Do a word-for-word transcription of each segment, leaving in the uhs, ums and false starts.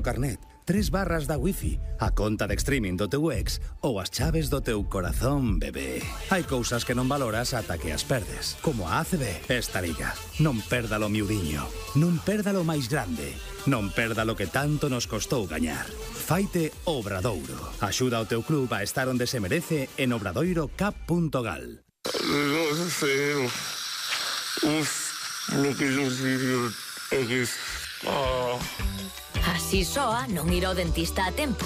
carnet, tres barras da wifi, a conta de streaming do teu ex ou as chaves do teu corazón, bebé. Hai cousas que non valoras ata que as perdes, como a A C B. Esta liga, non perdalo miudiño, non perdalo máis grande, non perdalo que tanto nos costou gañar. Faite Obradoiro. Axuda ao teu club a estar onde se merece en obradoiro cap punto gal. Non sei, uf, lo que eu digo é que... Así soa non ir ao dentista a tempo.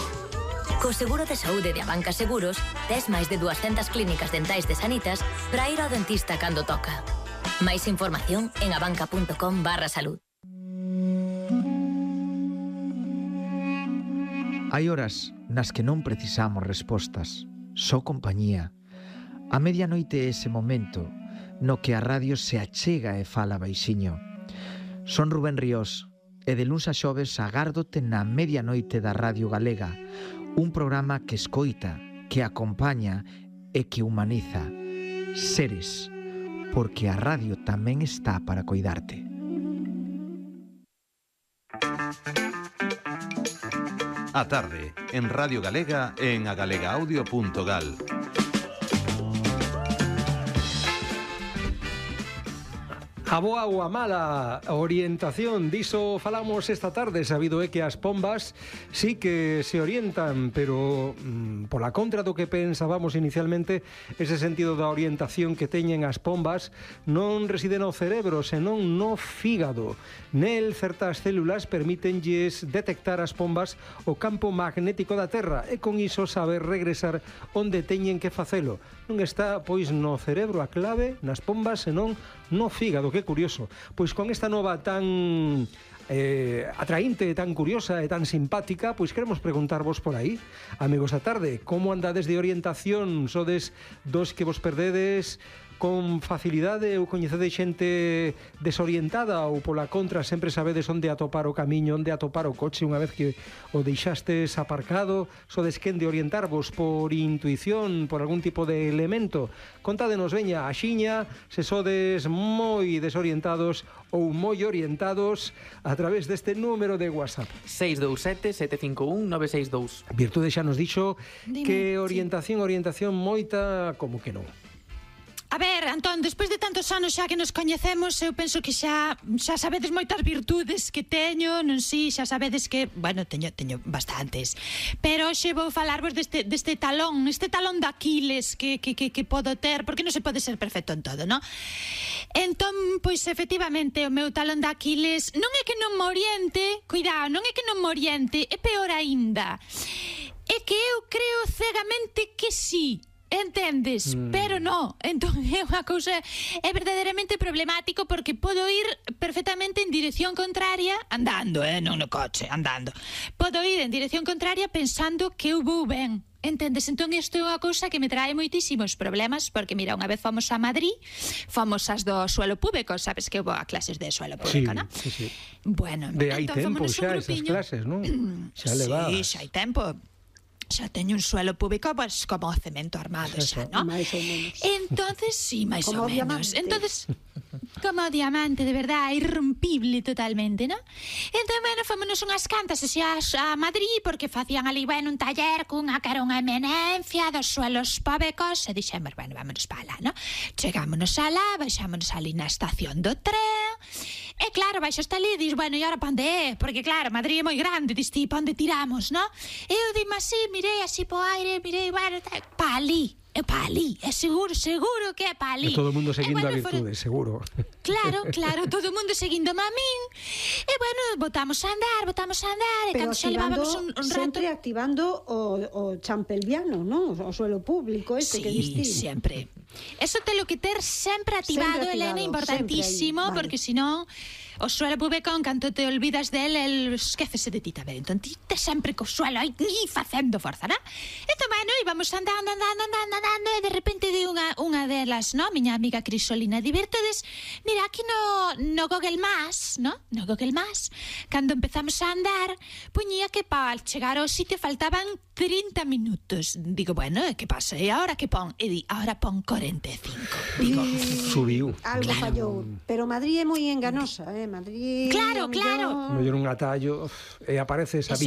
Co seguro de saúde de Abanca Seguros, tes máis de duascentas clínicas dentais de Sanitas para ir ao dentista cando toca. Máis información en abanca punto com barra salud. Hai horas nas que non precisamos respostas, só compañía. A medianoite é ese momento no que a radio se achega e fala baixiño. Son Rubén Ríos, e de luns a xoves agárdote na medianoite da Radio Galega, un programa que escoita, que acompaña e que humaniza. Seres, porque a radio tamén está para coidarte. A tarde, en Radio Galega e en agalega-audio punto gal. A boa ou a mala orientación, diso falamos esta tarde. Sabido é que as pombas sí que se orientan, pero mmm, pola contra do que pensábamos inicialmente, ese sentido da orientación que teñen as pombas non reside no cerebro, senón no fígado. Nel, certas células permítenlles detectar as pombas o campo magnético da Terra e con iso saber regresar onde teñen que facelo. Non está, pois, no cerebro a clave, nas pombas, senón no fígado. Que curioso. Pois con esta nova tan eh, atraínte, tan curiosa e tan simpática, pois queremos preguntarvos por aí, amigos da tarde, como andades de orientación? Sodes dos que vos perdedes con facilidade ou coñecedes xente desorientada, ou pola contra sempre sabedes onde atopar o camiño, onde atopar o coche unha vez que o deixastes aparcado? Sodes quen de orientarvos por intuición, por algún tipo de elemento? Contádenos, veña, axiña, se sodes moi desorientados ou moi orientados a través deste número de WhatsApp. seis dous sete, sete cinco un, nove seis dous. Virtude xa nos dixo Dime, que orientación, orientación moita, como que non. A ver, Antón, despois de tantos anos xa que nos coñecemos, eu penso que xa xa sabedes moitas virtudes que teño, non si, xa sabedes que, bueno, teño teño bastantes. Pero hoxe vou falarvos deste deste talón, este talón de Aquiles que que que que podo ter, porque non se pode ser perfecto en todo, ¿no? Entón, pois efectivamente, o meu talón de Aquiles non é que non me oriente, cuidado, non é que non me oriente, é peor aínda. É que eu creo cegamente que sí. Entendes? Mm. Pero no. Entón é unha cousa, é verdadeiramente problemático, porque podo ir perfectamente en dirección contraria andando, eh, non no coche, andando. Podo ir en dirección contraria pensando que eu vou ben. Entendes? Entón isto é unha cousa que me trae moitísimos problemas, porque mira, unha vez fomos a Madrid, fomos as do suelo público, sabes que eu vou a clases de suelo público, Sí, non? sí, sí. Bueno, De hai entón tempo fomos un xa esas grupiño. clases, non? Xa levadas. Sí, xa hai tempo. Xa teño un suelo público, pues, como cemento armado, xa, ¿no? Máis ou menos. Entonces, sí, máis Como ou menos. diamante. Entonces, como diamante, de verdad, irrompible totalmente, ¿no? Entón, bueno, fomos unhas cantas así a, a Madrid, porque facían ali, bueno, un taller cunha que era unha eminencia dos suelos públicos, e dixemos, bueno, vámonos para lá, ¿no? Chegámonos alá, baixámonos ali na estación do tren, e claro, baixo hasta ali, dis, bueno, e ahora pa onde é? Porque claro, Madrid é moi grande, dis ti, pa onde tiramos, ¿no? E eu dime así, mirei así po aire, mirei, bueno, pa ali. É pa ali, é seguro, seguro que é pa ali. E todo o mundo seguindo e, bueno, a virtude, for... seguro. Claro, claro, todo o mundo seguindo a min. E bueno, botamos a andar, botamos a andar, e Pero cando xa levábamos un, un rato... sempre activando o, o champelviano, non? O suelo público este sí, que distí. Sí, sempre. Eso te lo que ter sempre activado, Sempre activado, Elena, importantísimo, sempre aí, vale. porque si non, o suelo público, en canto te olvidas del, el esquécese de ti tamén. Entón, ti te sempre co suelo aí facendo forza, non? Entón, bueno, íbamos andando, andando, andando, andando, e de repente di unha, unha delas, no? Miña amiga Crisolina, divertedes, mira, aquí no, no Google Maps, no? No Google Maps, cando empezamos a andar, puñía que para chegar ao sitio faltaban trinta minutos. Digo, bueno, que pasa? E agora que pon? E di, agora pon cuarenta e cinco. Digo, Subiu. Algo Claro. fallou. Pero Madrid é moi enganosa, eh? Madrid... Claro, o claro. mellor- Mellor un atallo uf, e aparece esa Eso